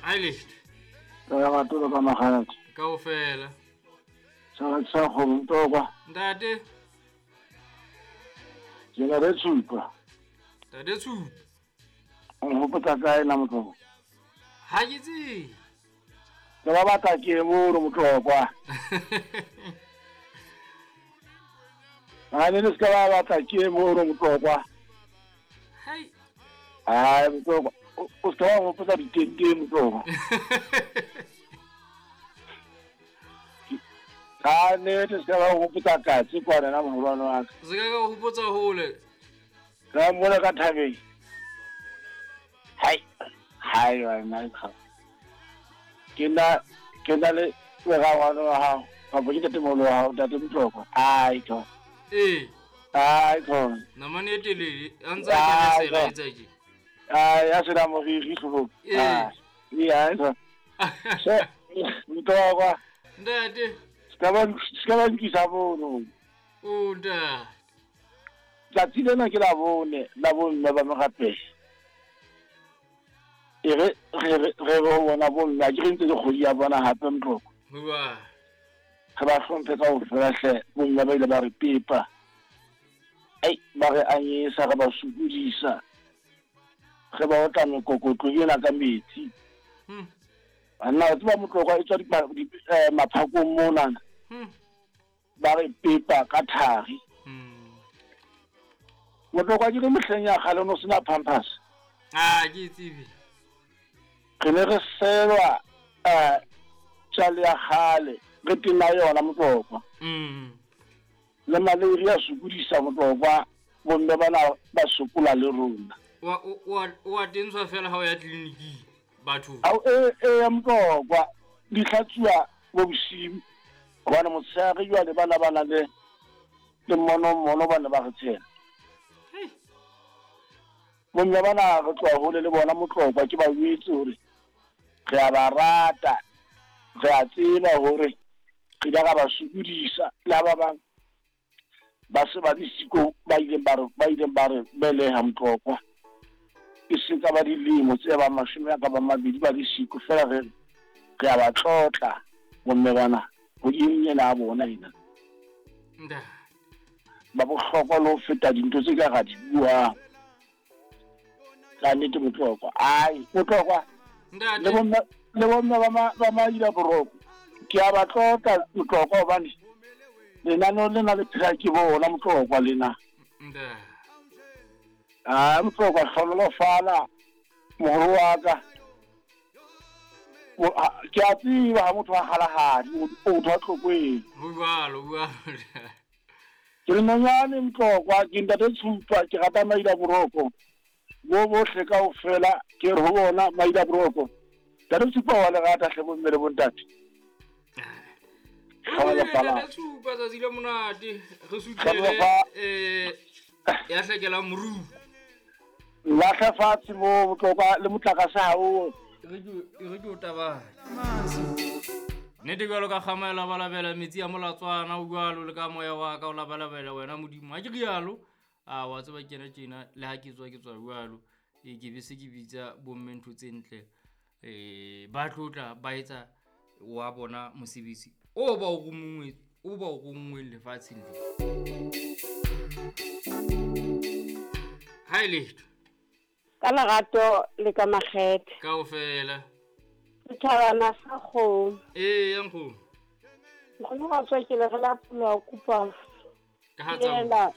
Ai letho. Ka matolo ka magalati. Kaofela. Sa sa go mtokwa. Ntate. Ke na le tshupa. Ntate tshupa. O hopotsa kae na motlokwa? Ha ke tsebe. Ke ba batla ke mono motlokwa. Ha ne le se ka ba batla ke mono motlokwa. Hai. Ai motlokwa. O se ka wa hopotsa ditente motlokwa. Ka nnete se ka ba hopotsa katse kwana na moholwane wa ka. Se ka ka hopotsa hole. Ka mona ka thabeng. Hai. Hai wa nna ka. Ke na le morangwane wa hao. Kapa ke ntatemoholo wa hao, ntate Motlokwa. Ai tho. Ee. Ai tho. Namane e telele, a ntse a kena sela etsa ke. Ai, a sena moriri hloohong. Ee. Ai, ai tho. Se, Motlokwa. Ntate. Se ka ba nkisa mono. O ntate. Tsatsi lena ke la bone, la bomme ba merapelo. E re re ho bona bomme, a ke re ntse le kgwedi ya bona hape Motlokwa. Bua. Re ba hlomphe kaofela hle, bomme ba ile ba re pepa. Ai, ba re anyesa, re ba sokodisa. Re ba otla mekokotlo ena ka metsi. Banna, o tseba Motlokwa e tswa maphakong monana. Ba re pepa ka thari. Motlokwa ke re mehleng ya kgale no sena pampers. Ah, ke tsebe. Re ne re selwa tjale ya kgale, re tena yona Motlokwa. Le malaria sokodisa Motlokwa, bomme bana ba sokola le rona. Wa tenswa fela ha o ya tleliniking batho. Ao e Motlokwa di hlatsuwa bo bosiu. Hobane motshehare jwale bana ba na le mono ba ne ba re tshela. Bomme bana re tloha hole le bona Motlokwa, ke ba jwetse hore re a ba rata, re a tseba hore re ile ra ba sokodisa le ha ba bang ba se ba le siko ba ileng ba re beleha Motlokwa. E se ka ba dilemo tse ba 20 a ka ba 2 ba le siko fela re a ba tlotla bomme bana ho ena a bona ena. Ba bohlokwa le ho feta dintho tse ka ra di buang. Ka nnete Motlokwa. Ai, Motlokwa. Le bomme ba maila boroko. Ke a ba tlotla Motlokwa hobane lenaneo lena le phela ke bona Motlokwa lena. Ah, Motlokwa hlonolofala moholo wa ka. Ke a tseba ha motho a halahadi, o motho a tlokweng. Ho jwalo, ho jwalo. Ke le nonyane Motlokwa, ke ntate Tshupa, ke rata maila boroko. Bo bohle kaofela ke re ho bona maila boroko. Ntate Tshupa wa le rata hle bomme le bontate. Ntate Tshupa tsatsi le monate, re sutlele ya hlekela moru. Lahla fatshe mo Motlokwa le motlakase ha o. Re ke o tabane. Nnete jwalo ka kgama e labalabela metsi a molatswana o jwalo le ka moya wa ka o labalabela wena Modimo. Ha ke rialo, a wa tseba kena tjena le ha ke tswa jwalo. Ke be se ke bitsa bomme ntho tse ntle. Ba tlotla ba etsa wa bona mosebetsi o ba o rongweng lefatsheng le. Ha letho. Ka lerato le ka makgethe. Kaofela. Setjhabana sa kgomo. Ee, ya nkgomo. Nkgono wa tswa ke le re la pula kopa. Ka ha tsa.